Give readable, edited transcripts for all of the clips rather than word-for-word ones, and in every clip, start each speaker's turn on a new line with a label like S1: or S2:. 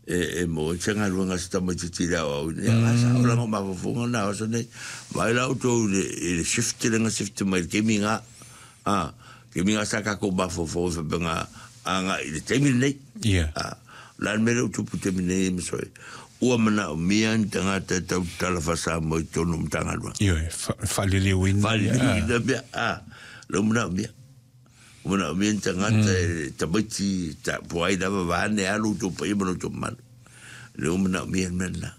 S1: E maua ai se galuega a se tamaitiiti i le aoaoina. Ia, a sao la o mafaufauga na o aso nei. Vaai la outou i le shift lea na shift mai i le taimi na. A, taimi na sa tatou mafaufau ai faapea na agai i le taimi lenei. A, o le a le mea lea ua tupu i le taimi nei Masoe? Ua manaomia ni tagata e tautala faa-Samoa i totonu o Matagaluega.
S2: Ioe, faaliliuina.
S1: Faaliliuina mea, a, lea ua manaomia. Ua manaomia ni tagata e tamaiti ta po ai lava vaeane a lo outou paia ma lo outou mamalu. Lea ua manaomia le mea lena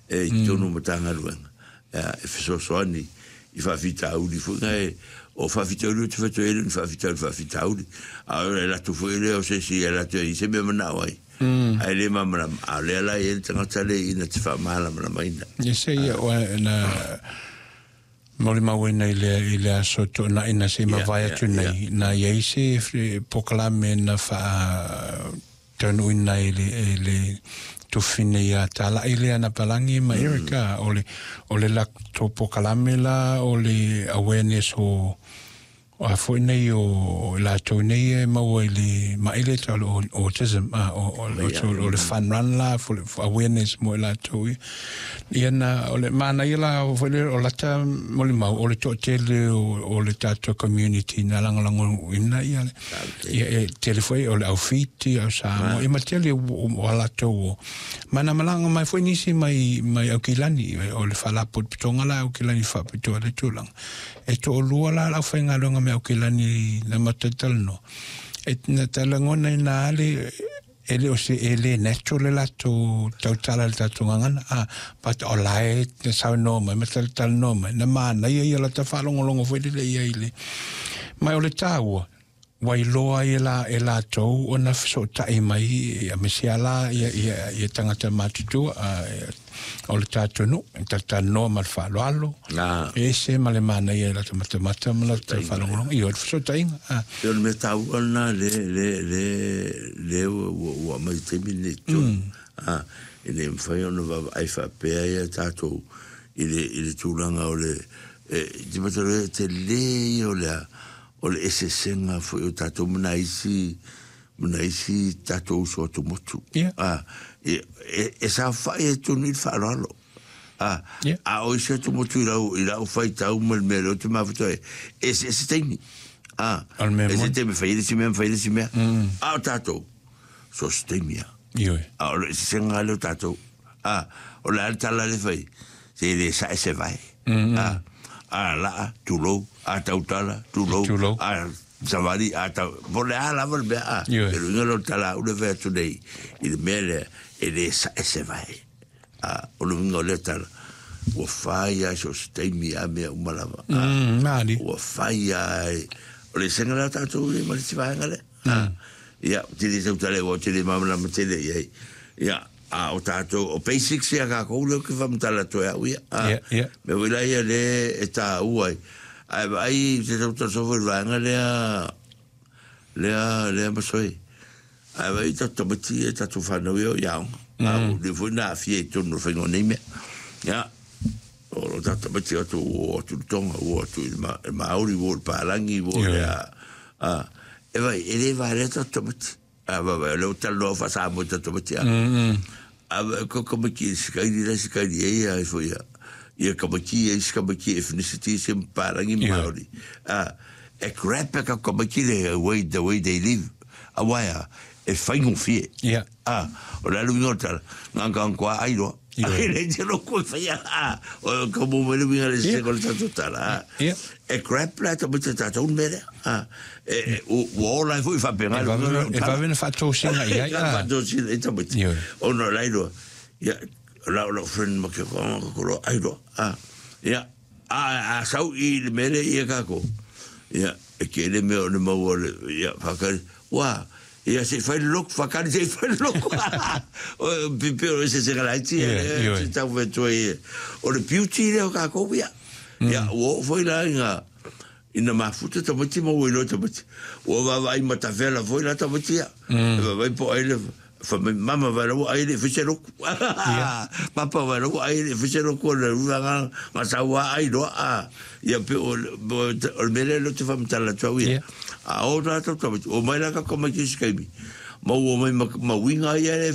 S1: e i totonu o Matagaluega e fesoasoani i faafitauli foi na e o faafitauli ou te fai atu ai e le o ni faafitauli faafitauli a o le latou foi lea o se isi e latou e i se mea manao ai ae le malamalama a o lea la e i ai le tagata lea ina te faamalamalamaina.
S2: Ia se ia oe na molimauina i le aso Toonai na se i mavae atu nei, na i ai se polokalame na faataunuuina e le tufine ia Talai lea na palagi ma Erica, o le latou polokalame la o le awareness o a foi nei o latou nei e maua i le mai le tau o autism, a o le fun run la for awareness mo i latou ia. Ia na o le manaia la o foi le o lata molimau o le toatele o le tatou community na lagolagoina ia le ia e tele foi o le au Fiti, au Samoa, ia ma tele o latou o ma na malaga mai foi nisi mai Aukilani o le faalapotopotoga la Aukilani faapitoa le tulaga. E toalua la le aufaigaluega mai Aukilani na matou talanoa. E na talagona ina ale e le o se e le natural le latou tautala i le tatou gagana. A, but o la e saunoa mai ma talatalanoa mai. Na manaia ia lata faalogologo foi lele ia i le. Mai o le taua, ua iloa ai e latou ona fesootai mai ia aemaise lava la ia tagata matutua o le tatou nuu, e talatalanoa ma le faaaloalo, e ese ma le manaia i lata matamata ma lata faalogologo. Ia, o le fesootaiga.
S1: O le mea taua lena le ua aumai i le taimi lenei i totonu. E le mafai ona vaavaai faapea ia tatou i le tulaga o le te matau e tele ia o le o le eseesega foi o tatou ma nai isi tatou uso atumotu. E saofai ai totonu i le faaaloalo. A o isi atumotu i lau faitau ma le mea lea ou te mafuta ai, eseese taimi. Ese taimi fai ai le isi mea ma fai ai le isi mea. A o tatou, so o se taimi lava. A o le eseesega lea o tatou. O le a le tala lea e fai, se le sae se vae. A laa, tulou, a tautala, tulou, a savali, a tau, po o le a lava le mea, a. Le uiga lea o le tala a au lea e fai atu nei i le mea lea, e le sae se vae. A, o le uiga o lea tala, ua fai lava i so o se taimi a mea uma lava. Ua fai lava, o le eseesega lea o tatou ma le isi vaega lea. Ia, ou te le tautala aua ou te le malamalama tele i ai. Ia, a o tatou, o basics ia kākou lea ou te faamatala atu ai au ia. Mea foi la ia lea e taua ai. Ae vaai te tautala soo foi i le vaega lea, lea Masoe. Ae vaai tatou tamaiti ia, tatou whanau ia o i aoga. A o lea foi na aafia i totonu o le faiga o nei mea. Ia, o lo tatou tamaiti atu ua o atu i le Tonga, ua o atu i le Māori, ua o i le Pālagi, ua o i le a, e vaai, e le valea tatou tamaiti. A vaai, o lea ua talanoa faa-Samoa i tatou tamaiti, a. A vaai, ko tamaiti e sikaili la e sikaili ai ia ifo ia, ia tamaiti ia isi tamaiti ethnicity isi Pālagi ma Māori. A, e grab e tatou tamaiti le way, the way they live. Aua e a, e faigofie. A, o le a le uiga o le tala, na ona ai loa. E le te loko e whaia, a, o ka mo mai le uiga le se o le tatou tala, a. E grab la tamaiti a tatou le mea lea, a. E, ua ola ai foi faapena le uiga o le
S2: E
S1: tala.
S2: vave na faatosina i ai.
S1: Faatosina i tamaiti. Ona o la iloa, ia, o lau friend ma ke konga ka kolo ai loa, a. Ia, a sau i le mea lea ia kākou, ia, e tele mea o le maua o le, ia, whakari, ua, ia se i fai le loku, whakari se i fai le loku. O pipi o se se galaiti, se tau whetua i, o le beauty lea o kākou ia. Ia, ua oo foi la ina mafuta tamaiti ma ua iloa tamaiti. Ua vaavaai matafela foi la tamaiti ia. E vaavaai po ai le, fa mai mama vai lau ai le fai se loku. Papa vai lau ai le fai se loku o le rua nga sau a ai loa a. Ia pe o le mea lea te whamatala atu au ia. A o tātou tamaiti, o mai la ka tamaiti i se kaimi. Ma ua mai ma uiga ia le